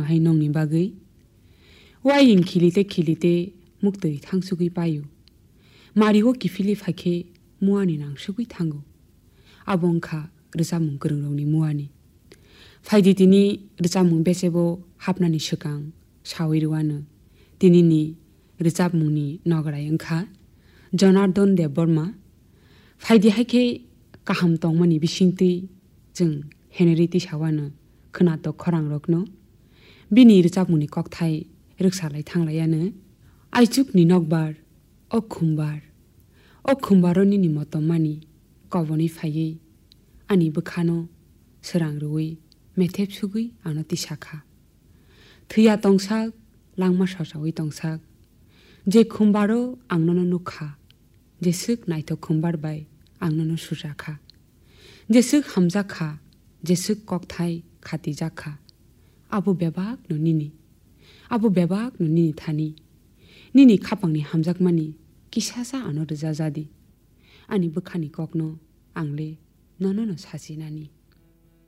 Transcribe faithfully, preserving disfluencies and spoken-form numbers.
hai nongni bagwi. Waying khilite khilite muktwi thangsugwi paio. Mario kiphilwi phaikhe muani nangsugwi thango. Abo wngkha rwchapmung kwrwngrokni muani. Phaidi tini rwchapmung bechebo hapnani swkang sawi rwano. Tinini rwchapmungni nograi wngkha Jonardon Debbarma. Phaidi hai khe kaham tongmani bisingtwi chwng Henry tisawano khwnatok khorangrokno bini rwchapmungni kokthai rwksalai thanglaiano. Aichukni nokbar, o khumbar, o khumbaro nini motom mani kobonwi phaiwi ani bwkhano swrang rwui methep sugwi ano tisakha. Thwiya tongsak, langma sosawi tongsak. Je khumbaro ang nono nukha, jeswk naithok khumbar bai ang nono sujakha. Jeswk hamjakha, jeswk kokthai khatijakha. Abo bebakno nini. Abo bebakno nini thani. Nini khapangni hamjakmani kisasa ano rwjajadi. Ani bwkhani kokno ang le nono no sasinani.